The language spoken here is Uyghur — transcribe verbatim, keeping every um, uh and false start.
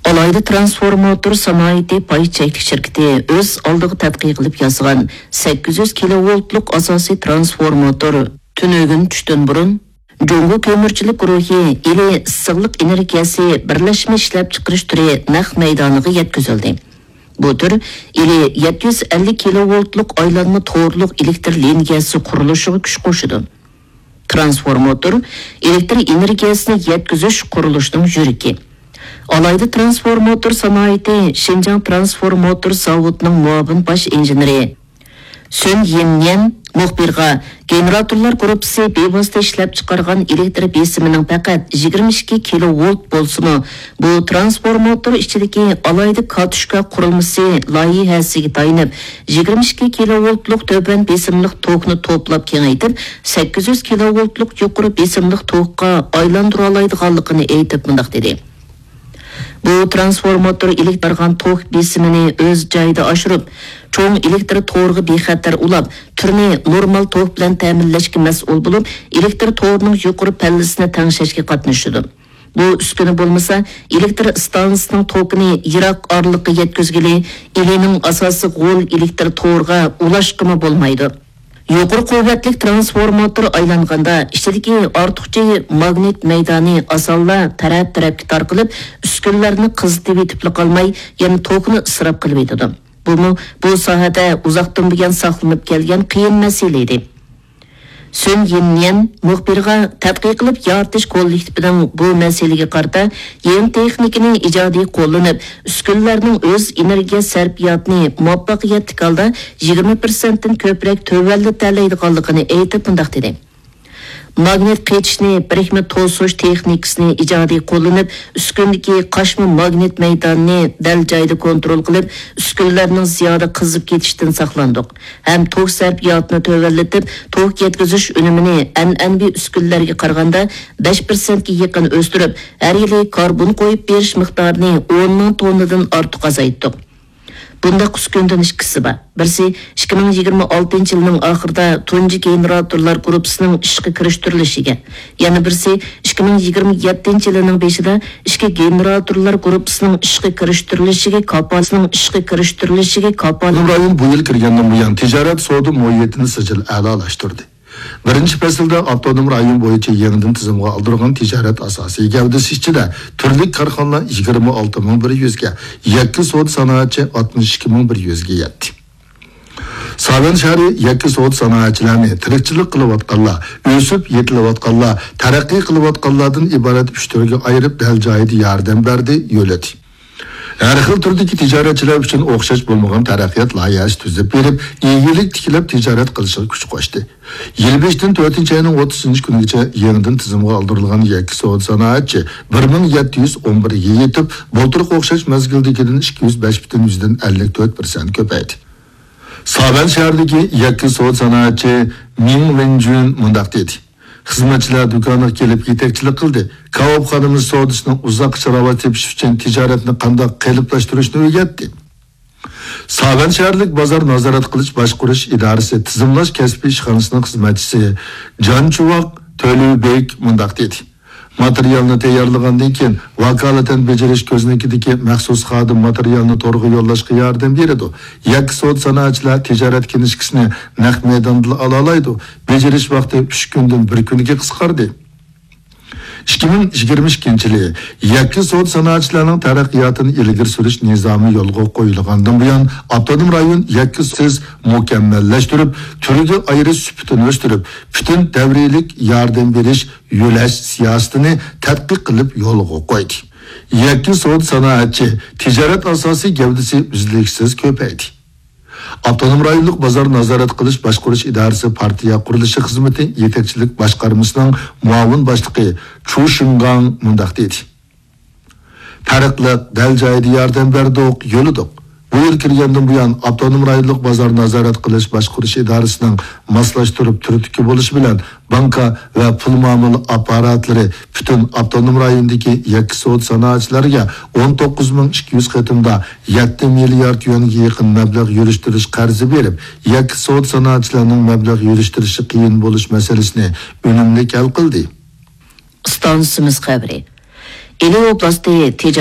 ئالاھىدە ترانسفورماتور سانائىتى پاي چەكلىك شىركىتى ئۆز ئالدىغا تەتقىق قىلىپ ياسىغان سەككىز يۈز كىلوۋولتلۇق ئاساسىي ترانسفورماتور تۈنۈگۈن چۈشتىن بۇرۇن جۇڭگو كۆمۈرچىلىك گۇرۇھى ئىلى ئىسسىقلىق ئېنېرگىيەسى بىرلەشمە ئىشلەپچىقىرىش تۈرى نەق مەيدانىغا يەتكۈزۈلدى. بۇ تۈر ئىلى يەتتە يۈز ئەللىك كىلوۋولتلۇق ئايلانما تورلۇق ئېلېكتر لىنىيەسى قۇرۇلۇشىغا كۈچ قوشىدۇ. ترانسفورماتور ئېلېكتر ئېنېرگىيەسىنى يەتكۈزۈش قۇرۇلۇشىنىڭ يۈرىكى. ئالاھىدە ترانسفورماتور سانائىتى شىنجاڭ ترانسفورماتور زاۋۇتىنىڭ مۇئاۋىن باش ئىنژېنېرى سۈن يىنيەن مۇخبىرغا، گېنېراتورلار گۇرۇپپىسى بىۋاسىتە ئىشلەپچىقارغان ئېلېكتر بېسىمىنىڭ پەقەت يىگىرمە ئىككى كىلوۋولت بولسىمۇ، بۇ ترانسفورماتور ئىچىدىكى ئالاھىدە كاتۇشكا قۇرۇلمىسى لايىھەسىگە تايىنىپ، يىگىرمە ئىككى كىلوۋولتلۇق تۆۋەن بېسىملىق توكنى توپلاپ كېڭەيتىپ، سەككىز يۈز كىلوۋولتلۇق يۇقىرى بېسىملىق توكقا ئايلاندۇرالايدىغانلىقىنى ئېيتىپ مۇنداق دېدى. بۇ ترانسفورماتور ئېلېكتر بارغان توك بېسىمىنى ئۆز جايىدا ئاشۇرۇپ، چوڭ ئېلېكتر تورىغا بىخەتەر ئۇلاپ، تۈرنى نورمال توك بىلەن تەمىنلەشكە مەسئۇل بولۇپ، ئېلېكتر تورىنىڭ يۇقىرى پەللىسىنى تەڭشەشكە قاتنىشىدۇ. بۇ ئۈسكۈنە بولمىسا، ئېلېكتر ئىستانسىسىنىڭ توكىنى يىراق ئارىلىققا يەتكۈزگىلى، ئىلىنىڭ ئاساسىي غول ئېلېكتر تورىغا ئۇلاشقىمۇ بولمايدۇ. يۇقىرى قۇۋۋەتلىك ترانسفورماتور ئايلانغاندا، ئىچىدىكى ئارتۇقچە ماگنىت مەيدانى ئاسانلا تەرەپ-تەرەپكە تارقىلىپ، ئۈسكۈنىلەرنى قىزىتىۋېتىپلا قالماي، يەنە توكنى ئىسراپ قىلىۋېتىدۇ. بۇمۇ بۇ ساھەدە ئۇزاقتىن بۇيان ساقلىنىپ كەلگەن قىيىن مەسىلە ئىدى. سۈن يىنيەن مۇخبىرغا، تەتقىق قىلىپ يارىتىش كوللېكتىپىنىڭ بۇ مەسىلىگە قارىتا يېڭى تېخنىكىنى ئىجادىي قوللىنىپ، ئۈسكۈنىلەرنىڭ ئۆز ئېنېرگىيە سەرپىياتىنى مۇۋەپپەقىيەتلىك ھالدا يىگىرمە پىرسەنتتىن كۆپرەك تۆۋەنلىتەلەيدىغانلىقىنى ئېيتىپ مۇنداق دېدى. ماگنىت قېچىشنى، بىرىكمە توسۇش تېخنىكىسىنى ئىجادىي قوللىنىپ، ئۈسكۈنىدىكى قاچما ماگنىت مەيدانىنى دەل جايىدا كونترول قىلىپ، ئۈسكۈنىلەرنىڭ زىيادە قىزىپ كېتىشىدىن ساقلاندۇق ھەم توك سەرپىياتىنى تۆۋەنلىتىپ، توك يەتكۈزۈش ئۈنۈمىنى ئەنئەنىۋى ئۈسكۈنىلەرگە قارىغاندا بەش پىرسەنتكە يېقىن ئۆستۈرۈپ، ھەر يىلى كاربون قويۇپ بېرىش مىقدارىنى ئون مىڭ توننىدىن ئارتۇق ئازايتتۇق. بۇنداق ئۈسكۈنىدىن ئىككىسى بار. بىرسى ئىككى مىڭ يىگىرمە ئالتىنچى يىلنىڭ ئاخىرىدا تۇنجى گېنېراتورلار گۇرۇپپىسىنىڭ ئىشقا كىرىشتۈرۈلۈشىگە، يەنە بىرسى ئىككى مىڭ يىگىرمە يەتتىنچى يىلىنىڭ بېشىدا ئىككى گېنېراتورلار گۇرۇپپىسىنىڭ ئىشقا كىرىشتۈرۈلۈشىگە كاپالەتنىڭ ئىشقا كىرىشتۈرۈلۈشىگە كاپالەت. ئاپتونوم رايون بۇ يىل كىرگەندىن بۇيان تىجارەت سودا مۇھىتىنى سىجىل ئەلالاشتۇردى. بىرىنچى پەسىلدە ئاپتونوم رايون بويىچە يېڭىدىن تىزىمغا ئالدۇرغان تىجارەت ئاساسىي گەۋدىسى ئىچىدە تۈرلۈك كارخانىلار يىگىرمە ئالتە مىڭ بىر يۈزگە، يەككە سودا سانائەتچى ئاتمىش ئىككى مىڭ بىر يۈزگە يەتتى. ساۋەن شەھىرى يەككە سودا سانائەتچىلەرنى تىرىكچىلىك قىلىۋاتقانلار، ئۆسۈپ يېتىلىۋاتقانلار، تەرەققىي قىلىۋاتقانلاردىن ئىبارەت ئۈچ تۈرگە ئايرىپ، دەل جايىدا ياردەم بەردى، يۆلىدى. ھەر خىل تۈردىكى تىجارەتچىلەر ئۈچۈن ئوخشاش بولمىغان تەرەققىيات لايىھەسى تۈزۈپ بېرىپ، ئىگىلىك تىكلەپ تىجارەت قىلىشىغا كۈچ قوشتى. يىل بېشىدىن تۆتىنچى ئاينىڭ ئوتتۇزىنچى كۈنىگىچە يېڭىدىن تىزىمغا ئالدۇرۇلغان يەككە سودا سانائەتچى بىر مىڭ يەتتە يۈز ئون بىرگە يېتىپ، بۇلتۇرقى ئوخشاش مەزگىلدىكىدىن ئىككى يۈز بەش پۈتۈن يۈزدىن ئەللىك تۆت پىرسەنت كۆپەيدى. ساۋەن شەھىرىدىكى يەككە سودا سانائەتچى مىڭ ۋېنجۈن مۇنداق دېدى. خىزمەتچىلەر دۇكانغا كېلىپ يېتەكچىلىك قىلدى. كاۋاپخانىمىز سودىسىنىڭ ئۇزاققىچە راۋاج تېپىشى ئۈچۈن تىجارەتنى قانداق قېلىپلاشتۇرۇشنى ئۆگەتتى. ساۋەن شەھەرلىك بازار نازارەت قىلىش باشقۇرۇش ئىدارىسى تىزىملاش كەسپىي ئىشخانىسىنىڭ خىزمەتچىسى جان چۇۋاق تۆلۈبېك مۇنداق دېدى. ماتېرىيالنى تەييارلىغاندىن كېيىن، ۋاكالىتەن بېجىرىش كۆزنىكىدىكى مەخسۇس خادىم ماتېرىيالنى تورغا يوللاشقا ياردەم بېرىدۇ. يەككە سودا سانائەتچىلەر تىجارەت كىنىشكىسىنى نەق مەيداندىلا ئالالايدۇ. بېجىرىش ۋاقتى ئۈچ كۈندىن بىر كۈنگە قىسقاردى. ئىككى مىڭ يىگىرمە ئىككىنچى يىلى يەككە سودا سانائەتچىلەرنىڭ تەرەققىياتىنى ئىلگىرى سۈرۈش نىزامى يولغا قويۇلغاندىن بۇيان، ئاپتونوم رايون يەككە سودا مۇكەممەللەشتۈرۈپ، تۈرگە ئايرىش سۈپىتىنى ئۆستۈرۈپ، پۈتۈن دەۋرىيلىك ياردەم بېرىش يۆلەش سىياسىتىنى تەتقىق قىلىپ يولغا قويدى. يەككە سودا سانائەتچى تىجارەت ئاساسىي گەۋدىسى ئۈزلۈكسىز كۆپەيدى. ئاپتونوم رايونلۇق بازار نازارەت قىلىش باشقۇرۇش ئىدارىسى پارتىيە قۇرۇلۇشى خىزمىتى يېتەكچىلىك باشقارمىسىنىڭ مۇئاۋىن باشلىقى چۇ شىڭگاڭ مۇنداق دېدى. پەرقلىق، دەل جايىدا ياردەم بەردۇق، يۆلىدۇق. بۇ يىل كىرگەندىن بۇيان، ئاپتونوم رايونلۇق بازار نازارەت قىلىش باشقۇرۇش ئىدارىسىنىڭ ماسلاشتۇرۇپ تۈرتكە بولۇشى بىلەن، بانكا ۋە پۇل مۇئامىلە ئاپپاراتلىرى پۈتۈن ئاپتونوم رايوندىكى يەككە سودا سانائەتچىلەرگە ئون توققۇز مىڭ ئىككى يۈز قېتىمدا يەتتە مىليارد يۈەنگە يېقىن مەبلەغ يۈرۈشتۈرۈش قەرزى بېرىپ، يەككە سودا سانائەتچىلەرنىڭ مەبلەغ يۈرۈشتۈرۈشى قىيىن بولۇش مەسىلىسىنى ئۈنۈملۈك ھەل قىلدى. ئىستانسىمىز خەۋىرى. ئىلى ئوبلاستى تېجاۋۇز